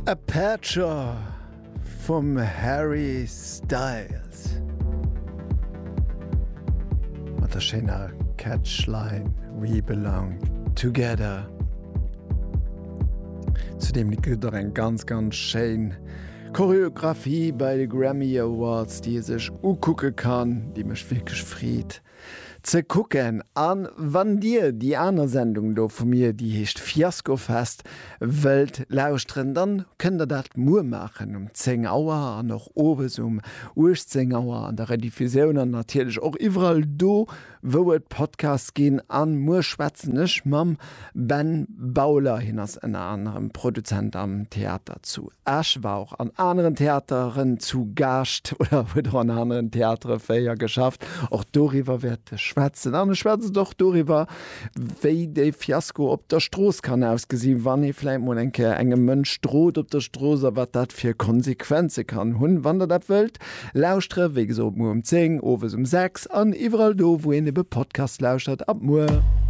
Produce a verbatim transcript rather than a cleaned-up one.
Aperture vum Harry Styles. Mat der schéiner Catchline We belong together. Zu deem Lidd gëtt et och eng ganz ganz schéin Choreographie bei de Grammy Awards, déi ee sech ukucke kann, déi mécht wierklech Freed ze kucken. An wann dir déi aner Sendung do vu mir, déi heescht Fiaskofest, wëllt lauschteren, dann kënnt der dat muer maachen um zéng Auer an och owes um uechtzéng Auer an der Rediffusioun an natierlech och iwwerall do, wou et Podcasts ginn. An muer schwätzen ech mam Ben Bauler, hien ass ënner anerem Produzent am Theater zu Esch, war och an aneren Theateren zu Gaascht oder huet och an aneren Theatere fréier geschafft. Och doriwwer wäert e schwätzen. An e schwätzt och doriwwer, wéi de Fiasko op der Strooss kann ausgesinn, wann ee vläicht mol eng Kéier engem Mënsch drot op der Strooss a wat dat fir Konsequenze kann hunn. Wann der dat wëllt lauschtere, wéi gesot, muer um zéng, owes um sechs an iwwerall do, wou een ebe Podcast lauschtert. Ab muer!